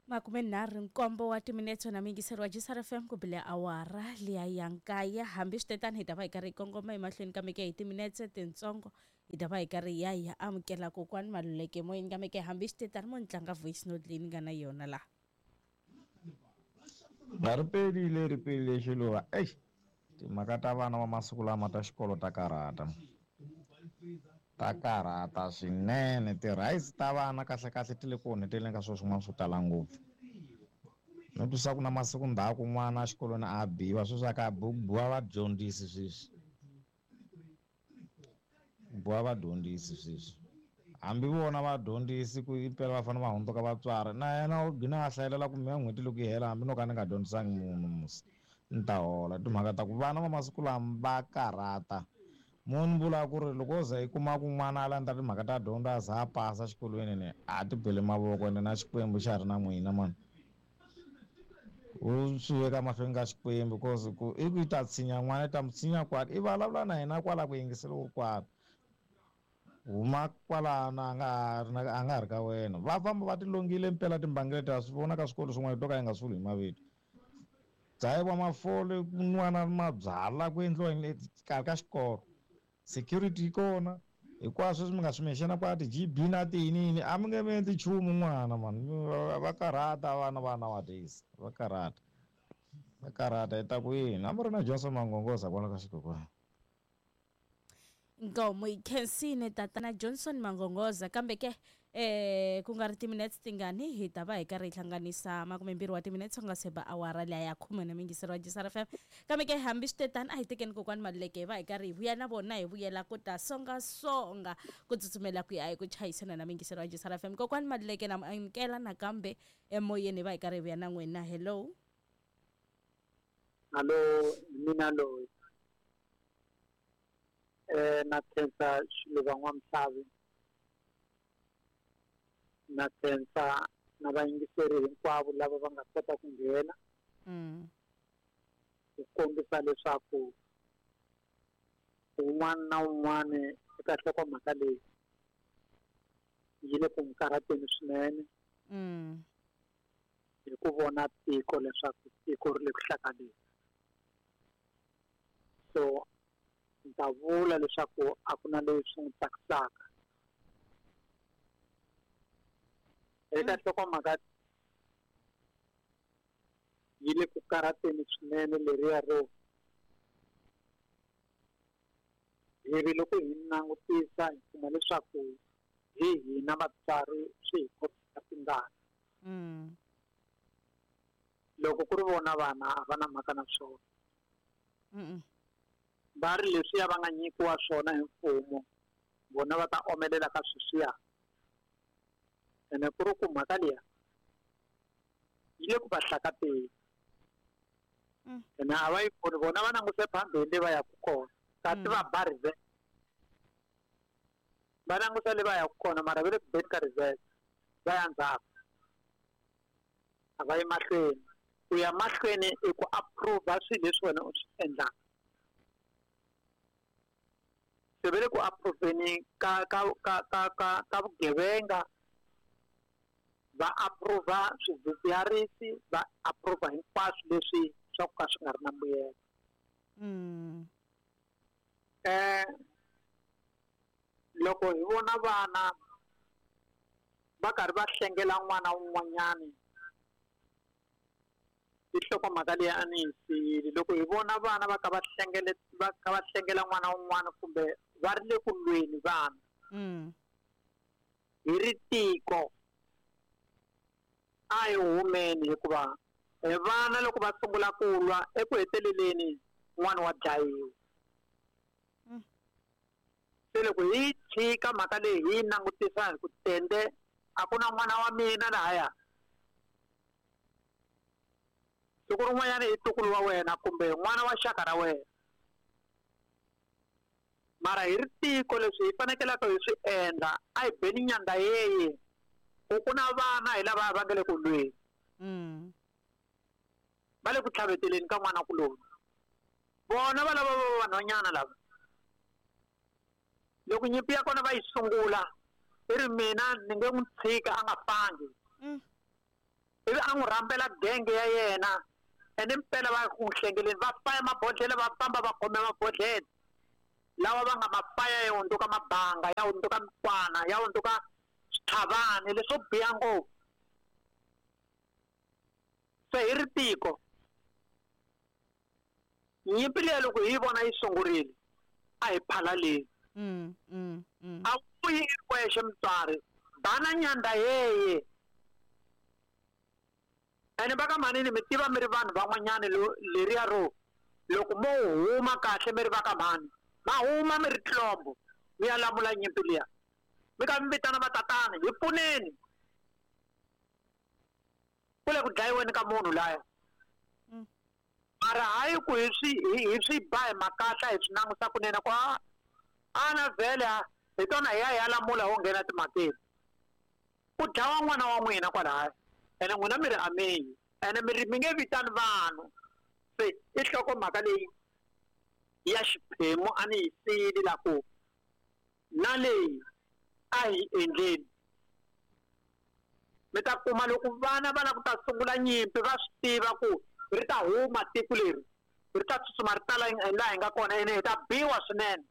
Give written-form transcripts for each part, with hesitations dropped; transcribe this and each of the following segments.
47 wa timinetse na miyingiseri wa Gsr FM ku bile awara liya ya nkaye. Hambi swi tetani hi ta va hi karhi hi kongoma emahlweni kambe ke hi timinetse tintsongo hi ta va hi karhi hi ya hi ya amukela kokwani Maluleke moyeni, kambe ke hambi swi tetani mo ni tlanga voice note leyi ni nga na yona laha. A ri pelile ri pelile xiluva eish timhaka ta vana va masiku lama ta xikolo ta karhata ta karhata swinene ti-rights ta vana kahlekahle ti le ku onheteleni ka swilo swin'wana swo tala ngopfu. No twisa ku na masiku ndzhaku n'wana exikolweni a biwa sweswi a ka biwi ku biwa vadyondzisi sweswi ku biwa vadyondzisi sweswi hambi vona vadyondzisi ku impela va fanele va hundzuka vatswari na yena u gina a hlayelela ku mehe n'hweti loko yi hela hambi no ka ni nga dyondzisangi munhu musi ni ta hola. Timhaka ta ku vana va masiku lama va karhata mo ni vula ku ri loko wo za yi kuma ku n'wana a landza timhaka ta dyondzo a za a pasa xikolweni ni a ti bele mavoko ende na Xikwembu xa ha ri na n'wina mani u swi veka mahlweni ka Xikwembu cause ku i ku yi ta tshinya n'wana yi ta mu tshinya kwala i vulavula na yena kwala ku yingisela u ri kwala huma kwalano a nga ha ri na a nga ha ri ka wena va famba va ti longile mpela timbangi leti ha swi vona ka swikolo swin'wana to ka yi nga swi vuli hi mavito dzahiwa mafole ku nwiwa na mabyalwa ku endliwa yini exikarhi ka xikolo security yi kona hinkwaswo leswi mi nga swi mention kwala ti-G_B na tiyini yini a mi nge mi endli nchumu n'wana mani va karhata vana va nowadays va karhata va karhata hi ta ku yini a mi ri na Johnson Mangongoza kwala ka xikokwana. Inkomu hi khensile tatana Johnson Mangongoza kambe ke eh ku nga ri timinetse tingani hi ta va hi karhi hi hlanganisa 20 wa timinetse ku nga se ba awara liya ya khume na miyingiseri wa Gsr FM kambe ke hambi swi te tani a hi tekeni kokwani Maluleke hi va hi karhi hi vuya na vona hi vuyela ku ta songasonga ku tsutsumela ku ya eku chayisana na miyingiseri wa Gsr FM. Kokwani Maluleke na mi amukela nakambe emoyeni hi va hi karhi hi vuya na n'wina. Hello. Hallo, hi mina loyi. Na khensa Xiluva N'wamuhlavi na khensa na vayingiseri hinkwavo lava va nga kota ku nghena ku kombisa leswaku un'wana na un'wana eka nhlokomhaka leyi yi le ku n'wi karhateni swinene hi ku vona tiko leswaku tiko ri le ku hlakaleni. So ni ta vula leswaku a ku na leswi n'wi tsakisaka eka nhlokomhaka yi le ku karhateni swinene leriya ro hi ri loko hi langutisa hi kuma leswaku hi hina vatswari swi hi khomisa tingana loko ku ri vona vana a va na mhaka na swona va ri leswiya va nga nyikiwa swona hi mfumo vona va ta omelela ka sweswiya ene ku ri ku mhaka liya yi le ku va hlakateni ene a va yi voni vona va languse phambili le va yaka kona kasi va ba reverse va langusa le va yaka kona mara va le ku beni ka reverse va ya ndzhaku a va yi mahlweni ku ya mahlweni i ku approve swilo leswi wena u swi endlaka se va le ku approveni ka ka ka ka ka ka vugevenga va approve swidzidziharisi va approve hinkwaswo leswi swa ku ka swi nga ri na mbuyelo Loko hi vona vana va karhi va hlengela n'wana wun'wanyani i nhlokomhaka leyi a ni yi siyile loko hi vona vana va kha va hlengele va kha va hlengela n'wana wun'wana kumbe va ri le ku lweni vana hi ri tiko a hi humeni hikuva vana loko va sungula ku lwa eku heteleleni n'wana wa dlayiwa se loko hi tshika mhaka leyi hi yi langutisa hi ku tende a ku na n'wana wa mina lahaya siku rin'wanyana i ntukulu wa wena kumbe n'wana wa xaka ra wena mara hi ri tiko leswi hi fanekelaka hi swi endla a hi beni nyanda yeye ku ku na vana hi lava va nga le ku lweni va le ku tlhaveteleni ka n'wana kuloni vona va lava va vanhwanyana lava loko nyimpi ya kona va yi sungula i ri mina ni nge n'wi tshika a nga fangi. Ivi a n'wi rhambela genge ya yena ene mpela va ku hlengeleni va faya mabodhlele va famba va khome mabodhlele lawa va nga ma faya ya hundzuka mabanga ya hundzuka mikwana ya hundzuka switlhavani leswo biha ngopfu. Se hi ri tiko nyimpi leyi loko hi yi vona yi sungurile a hi phalaleni. A vuyi i ri wexe mutswari bana nyanda yeye ene va ka mhanini mi tiva mi ri vanhu van'wanyani leriya ro loko mo huma kahle mi ri va ka mhani ma huma mi ri tlombo mi ya lamula nyimpi liya mi ka mi vitana vatatana hi pfuneni ku le ku dlayiweni ka munhu laya. Mara hayi ku hi swi ba hi makatla hi swi langusa kunene ku ana vhele hi tona hi ya hi ya lamula ho nghena timhakeni ku dlawa n'wana wa n'wina kwalaya ene n'wina mi ri ameyi ene mi ri mi nge vitani vanhu. Se i nhlokomhaka leyi ya xiphemu a ni yi siyile la ku na leyi a hi endleni. Mi ta kuma loko vana va lava ku ta sungula nyimpi va swi tiva ku ri ta huma tiko leri ri ta tsutsuma ri tala laha hi nga kona ene hi ta biwa swinene.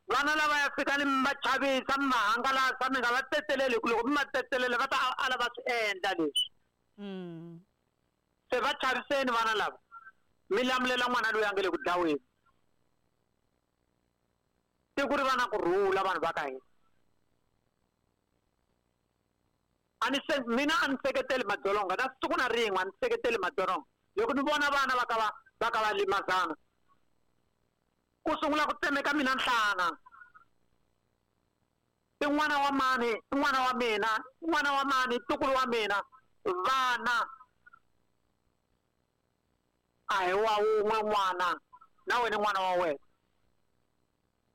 Vana lava ya fika ni mi va chavisa mi va hangalasa mi nga va tsetseleli hi ku loko mi va tsetselele va ta ala va swi endla leswi. Se va chaviseni vana lava mi lamulela n'wana loyi a nga le ku dlaweni. Tiko ri va na kurhula vanhu va ka hina. Mina a ni seketeli madzolonga na siku na rin'we a ni seketeli madzolonga. Loko ni vona vana va ka va limazana ku sungula ku tsemeka mina nhlana. I n'wana wa mani, i n'wana wa mina, i n'wana wa mani, ntukulu wa mina, vana a hi wa wun'we n'wana na wena n'wana wa wena.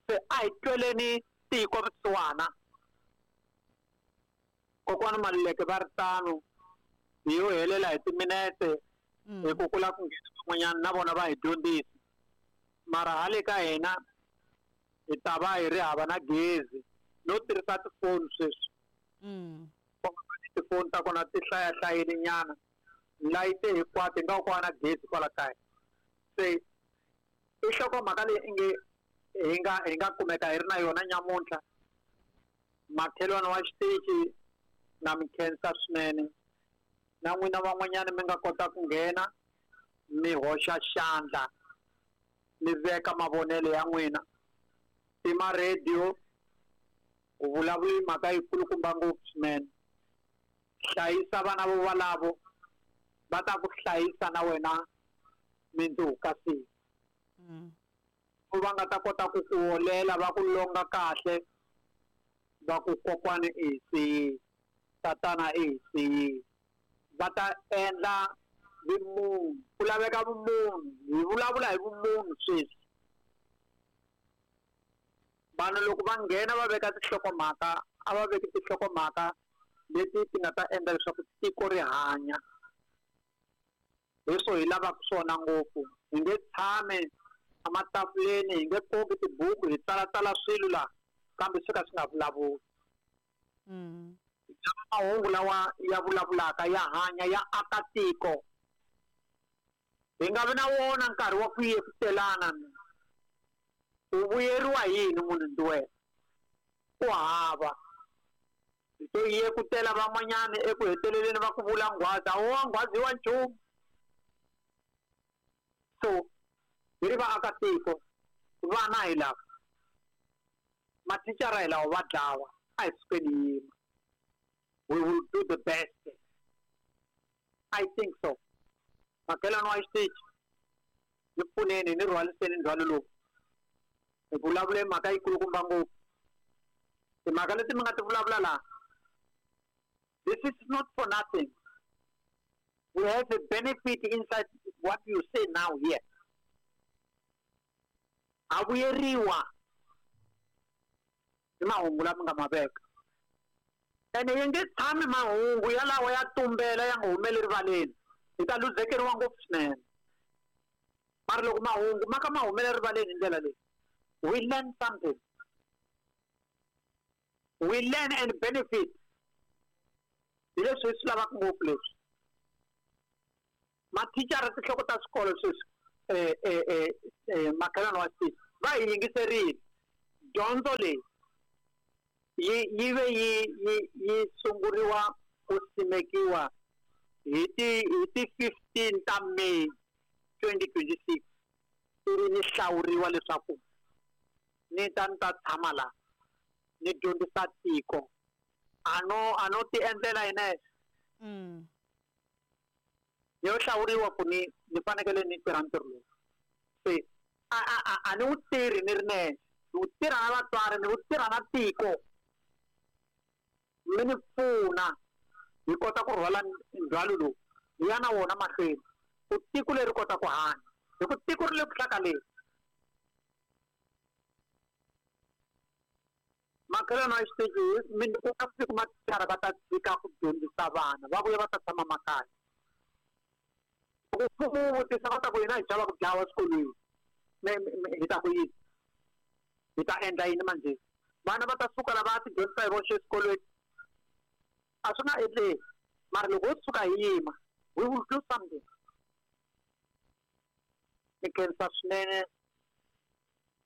Se a hi tweleni tiko vusiwana. Kokwana Maluleke va ri tano hi yo helela hi timinete hi ku kula ku nghena van'wanyana na vona va hi dyondzisa. Mara hale ka hina hi ta va hi ri hava na gezi no tirhisa tifoni sweswi. Tifoni ta kona ti hlayahlayile nyana layite hinkwato hi nga ku na gezi kwala kaya. Se i nhlokomhaka leyi inge hi nga kumeka hi ri na yona nyamuntlha. Makhelwani wa xitichi na mi khensa swinene na n'wina van'wanyana mi nga kota ku nghena mi hoxa xandla mi veka mavonelo ya n'wina. Tima radio ku vulavula mhaka yikulukumba ngopfu swinene. Hlayisa vana vo valavo va ta ku hlayisa na wena mindzuku ka siku. Va nga ta kota ku ku holela va ku longa kahle va ku kokwana i siyile tatana i siyile. Va ta endla vumunhu ku laveka vumunhu hi vulavula hi vumunhu sweswi. Vanhu loko va nghena va veka tinhlokomhaka a va veki tinhlokomhaka leti ti nga ta endla leswaku tiko ri hanya. Leswo hi lavaka swona ngopfu. Hi nge tshami ematafuleni hi nge koki tibuku hi tsalatsala swilo laha kambe swi ka swi nga vulavuli. Mahungu lawa ya vulavulaka ya hanya ya aka tiko. Hi nga vi na wona nkarhi wa ku yekutelana. U vuyeriwa yini munhu ndi wena? Ku hava. Hi to yekutela van'wanyana eku heteleleni va ku vula nghwazi a wo nghwazi wa nchumu. So hi ri vaakatiko vana hi lava mathicara hi lawa va dlawa a hi sukeni yima. We will do the best. I think so. Makhelwani wa xitichi ni pfuneni ni rhwaliseni ndzhwalo lowu. Hi vulavule mhaka yikulukumba ngopfu. Timhaka leti mi nga ti vulavula laha, this is not for nothing. We have a benefit inside what you say now here. A vuyeriwa hi mahungu lama nga ma veka. Ene yi nge tshami mahungu yalawa ya tumbela ya nga humeli rivaleni. Hi ta luzekeriwa ngopfu swinene. Mara loko mahungu ma ka ma humela rivaleni hi ndlela leyi, we learn something. We learn and benefit. Hi leswi hi swi lavaka ngopfu leswi. Mathicara tinhloko ta swikolo sweswi makhelwani wa xitichi va hi yingiserile. Dyondzo leyi yi ve yi sunguriwa ku simekiwa hi ti 15 ta May 2026 ivi ni hlawuriwa leswaku ni ta tshama la ni dyondzisa tiko. A no ti endlela yena ni yo hlawuriwa ku ni fanekele ni tirha ntirho lowu. Se a ni wu tirhi ni ri nexe, ni wu tirha na vatswari, ni wu tirha na tiko. Mi ni pfuna hi kota ku rhwala ndzhwalo lowu hi ya na wona mahlweni ku tiko leri kota ku hanya, hi ku tiko ri le ku hlakaleni. Makhelwani wa xitichi ku nga siku mathicara va ta tshika ku dyondzisa vana va vuya va ta tshama makaya. Loko mfumo wu vutisa va ta ku hina hi chava ku dlawa swikolweni, hi ta ku yini, hi ta endla yini manjhe? Vana va ta suka la va ti dyondzisa hi voxe eswikolweni, a swi nga endleki. Mara loko ho suka hi yima, we will do something. Ni khensa swinene,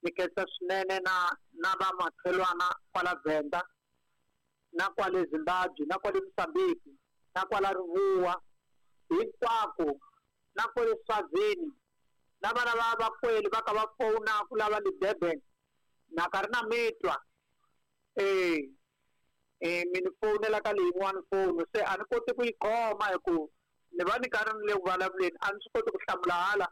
ni khensa swinene na vamakhelwana kwala Venda, na kwale Zimbabwe, na kwale Mozambique, na kwala Rivuwa, hinkwako, na kwale Swazini, na vana va vakweli va ka va fowuna ku lava le Durban, na ka ri na mitwa. Mi ni fowunela ka leyin'wani foni, se a ni koti ku yi khoma hi ku ni va ni karhi ni le ku vulavuleni, a ni swi koti ku hlamula hala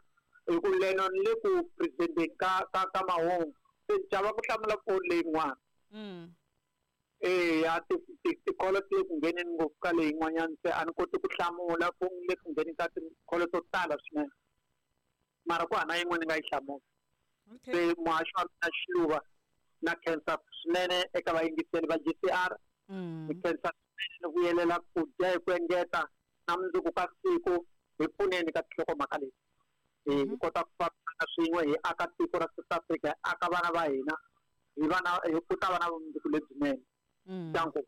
hi ku leno ni le ku presenteni ka mahungu, se ni chava ku hlamula foni leyin'wana. Ya tikholo ti le ku ngheneni ngopfu ka leyin'wanyana, se a ni koti ku hlamula foni le ku ngheneni ka tikholo to tala swinene, mara ku hana yin'we ni nga yi hlamula. Se muhaxi wa mina Xiluva, na khensa swinene eka vayingiseri va GCR. Ni khensa swinene ni vuyelela ku dya hi ku engeta na mundzuku ka siku hi pfuneni ka tinhlokomhaka leti. Hi kota ku fambisana swin'we, hi aka tiko ra South Africa, hi aka vana va hina, hi vana hi ku ta va na vumundzuku lebyinene. Danko.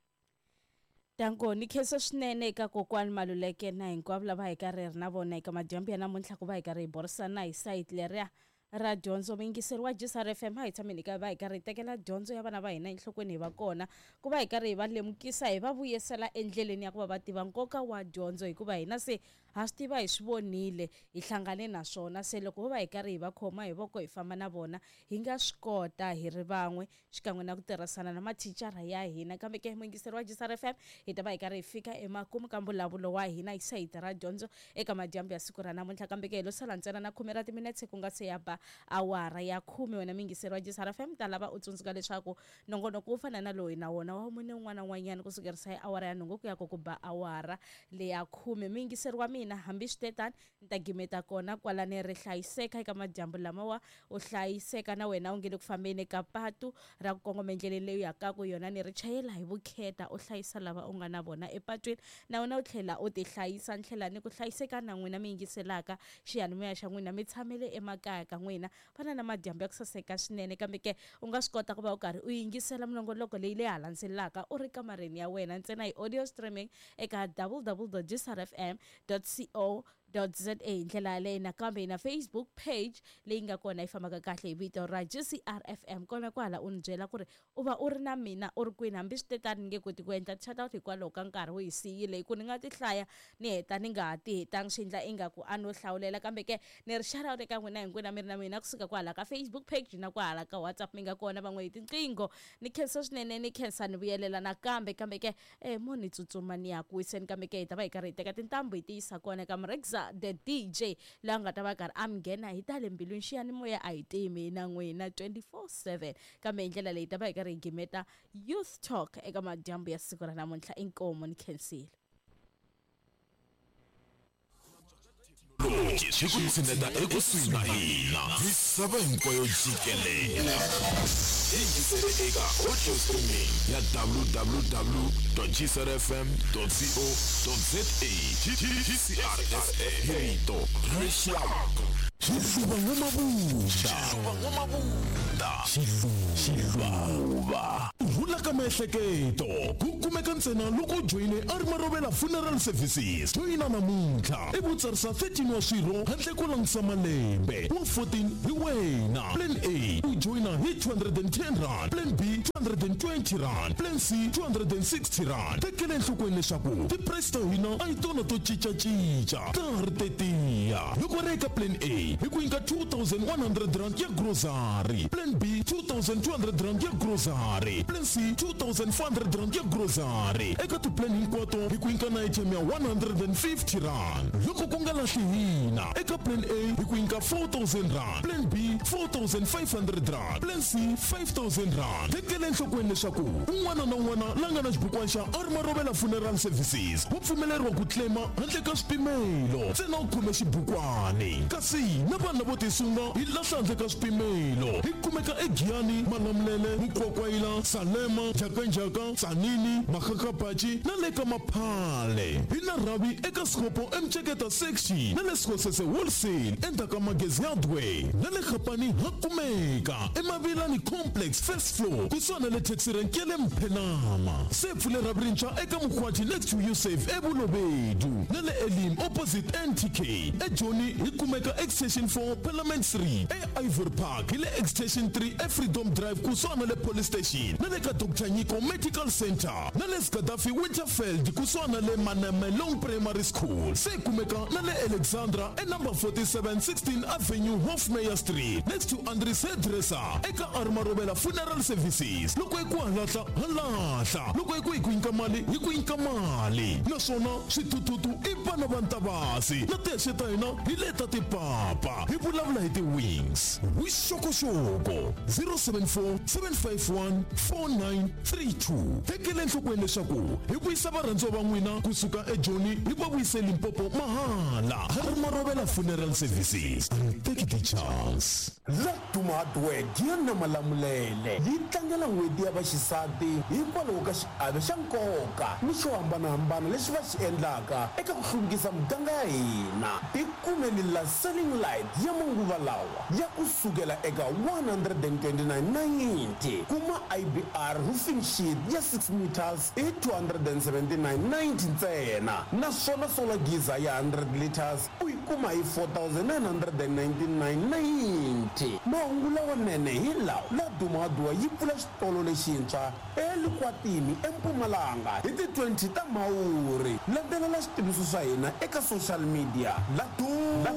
Danko, ni khensa swinene eka kokwani Maluleke na hinkwavo lava hi karhi ri na vona eka madyambu ya namuntlha ku va hi karhi hi burisana hi sayiti leriya ra dyondzo. Muyingiseri wa GCR FM, a hi tshameni ka va hi karhi hi tekela dyondzo ya vana va hina enhlokweni, hi va kona ku va hi karhi hi va lemukisa, hi va vuyisela endleleni ya ku va va tiva nkoka wa dyondzo, hikuva hina se ha swi tiva, hi swi vonile, hi hlangane na swona. Se loko ho va hi karhi hi va khoma hi voko hi famba na vona, hi nga swi kota hi ri van'we xikan'we na ku tirhisana na mathicara ya hina. Kambe ke muyingiseri wa GCR FM, hi ta va hi karhi hi fika emakumu ka mbulavulo wa hina hi sayiti ra dyondzo eka madyambu ya siku ra namuntlha. Kambe ke hi lo sala ntsena na 10 ra timinetse ku nga se ya ba awara ya 10. Wena muyingiseri wa GCR FM, ta lava u tsundzuka leswaku nongonoko wo fana na loyi na wona wa mune un'wana na un'wanyana kusukerisa hi awara ya 8 ku ya ku ba awara leya 10. Muyingiseri wa mina, hambi swi te tani, ni ta gimeta kona kwalani. Ri hlayiseka eka madyambu lamawa, u hlayiseka na wena u nge le ku fambeni ka patu ra ku kongoma endleleni leyi u yaka ku yona, ni ri chayela hi vukheta, u hlayisa lava u nga na vona epatwini, na wena u tlhela u ti hlayisa. Ni tlhela ni ku hlayiseka na n'wina mi yingiselaka xiyanimoya xa n'wina, mi tshamele emakaya ka n'wina, fana na madyambu ya ku saseka swinene. Kambe ke u nga swi kota ku va u karhi u yingisela minongoloko leyi leyi ha landzelelaka u ri kamareni ya wena ntsena hi audio streaming eka www.gcrfm.co.za. Hi ndlela yaleyo nakambe hi na Facebook page leyi nga kona yi fambaka kahle hi vito ra GCR FM. Kona kwala u ni byela ku ri u va u ri na mina u ri kwini. Hambi swi te tani, ni nge koti ku endla shout out hikwalaho ka nkarhi wu hi siyile, hi ku ni nga ti hlaya ni heta ni nga ha ti hetangi, swi endla ingaku a no hlawulela. Kambe ke ni ri shout out eka n'wina hinkwenu mi ri na mina kusuka kwahala ka Facebook page na kwahala ka WhatsApp, mi nga kona van'we hi tinqingho. Ni khensa swinene, ni khensa ni vuyelela nakambe. Kambe ke mo ni tsutsuma ni ya ku wiseni, kambe ke hi ta va hi karhi hi teka tintambu hi ti yisa kona ka Mrexa the DJ laha nga ta va karhi a mi nghena hi ta le mbilwini. Xiyanimoya a hi timi na n'wina 24/7. Kambe hi ndlela leyi ta va hi karhi hi gimeta Youth Talk eka madyambu ya siku ra namuntlha. Inkomu, ni khensile. Swi ku tshineta ekusuhi na hina misava hinkwayo jikelele. Yingisele eka audio streaming ya www.gcrfm.co.za. GCR FM, hi rito ra rixaka. Xiluva N'wamabunda. Xiluva N'wamabunda. Xiluva. Ku rhula ka miehleketo ku kumeka ntsena loko u joyine a ri Marovela Funeral Services. Joyina namuntlha i vutsarisa 13 wa swirho handle ko langutisa malembe. Wa 14 hi wena. Plan A u joyina hi 210 rand, Plan B 220 rand, Plan C 260 rand. Tekela enhlokweni leswaku ti-price ta hina a hi tona to cincacinca, ta ha ri tetiya. Loko ri eka Plan A hi ku nyika 2100 rand ya grocery, Plan B 2200 rand ya grocery, Plan C 2400 rand ya grocery. Eka ti-plan hinkwato hi ku nyika na airtime ya 150 rand. Loko ku nga lahli hina, eka Plan A hi ku nyika 4000 rand, Plan B 4500 rand, Plan C 5000 rand. Tekela enhlokweni leswaku un'wana na un'wana la nga na xibukwana xa a ri Marovela Funeral Services wa pfumeleriwa ku claima handle ka swipimelo, ntsena u khome xibukwani. Kasi na vanhu lavo tisunga hi lahla handle ka swipimelo. Hi kumeka eGiyani, Malamulele, Mukwakwayila, Salema, Njhakanjhaka, Tzaneen, Makgakgapatši na le ka Maphale. Hi na rhavi eka Sekgopo eMceketa Section na le Sekgosese Wholesale endzhaku ka Magezi Hardware, na le Gapani ha kumeka eMavilani Complex first floor kusuhani na le taxi rank ya le Mphenama. Se pfule rhavi rintshwa eka Mokgwathi next to Usave eBolobedu na le Elim opposite NTK. EJoni hi kumeka Extension 4 Parliament Street, eIvory Park hi le Extension 3 eFreedom Drive kusuhani na le Police Station na le ka Dr Nyiko Medical Center, na le Skadafi Winterfeld kusuhani na le Manamelong Primary School. Se kumeka na le Alexandra e number 47 16 Avenue Hofmeyer Street next to Andries Hairdresser. Eka a ri Marovela Funeral Services, loko hi ku halahla halahla, loko hi ku hi ku nyika mali hi ku nyika mali, naswona swithuthuthu i vana va Ntavasi na tihexe ta hina hi leta tipapa. Hi vulavula hi ti-wings. Vuxokoxoko 074 751 4932. Tekela enhlokweni leswaku hi vuyisa varhandziwa va n'wina kusuka eJoni hi va vuyise Limpopo mahala. Ha ri Marovela Funeral Services, and take the chance. Laduma Hardware Giyani Malamulele yi tlangela n'hweti ya vaxisati hikwalaho ka xiave xa nkoka ni xo hambanahambana lexi va xi endlaka eka ku hluvukisa muganga ya hina. Tikumeli la selling light ya manguva lawa ya ku sukela eka 129.90. Kuma IBR roofing sheet ya 6 meters i 279.90 ntsena, naswona solar geyser ya 100 liters u yi kuma hi 4999.90. Mahungu lawanene hi lawa: Laduma Hardware yi pfula xitolo lexintshwa eLikwatini eMpumalanga hi ti 20 ta Mhawuri. Landzelela switiviso swa hina eka social media. Laduma,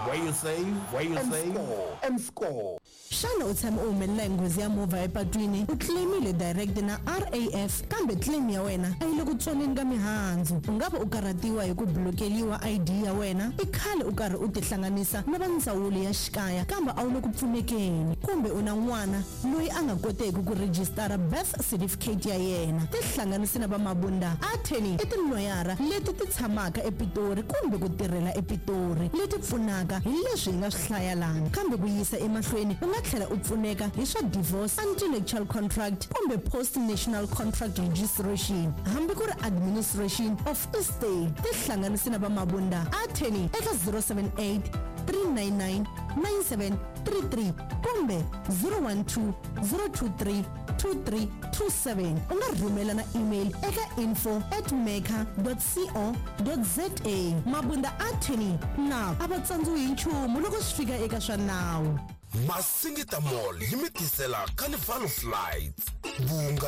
where you save, where you save and score. Xana u tshame u humelela hi nghozi ya movha epatwini, u claimile direct na RAF, kambe claim ya wena a yi le ku tsoneni ka mihandzu? U nga va u karhatiwa hi ku blokeliwa ID ya wena, i khale u karhi u tihlanganisa na va ndzawulo ya xikaya kambe a wu le ku pfunekeni, kumbe u na n'wana loyi a nga koteki ku rejistara birth certificate ya yena, tihlanganisi na va Mabunda Attorney. I tiloyara leti ti tshamaka ePitori kumbe ku tirhela ePitori leti pfunaka hi leswi hi nga swi hlaya lana, kambe ku yisa emahlweni u nga tlhela u pfuneka hi swa divorce, intellectual contract kumbe post national contract registration, hambi ku ri administration of estate. Tihlanganisi na va Mabunda Attorney eka 078 399 9733 kumbe 012 023 2327. U nga rhumela na email eka info@maker.co.za. Mabunda Attorney na a va tsandziwi hi nchumu loko swi fika eka swa nawu. Masingita Mall yi mi tisela Carnival of Lights. Vunga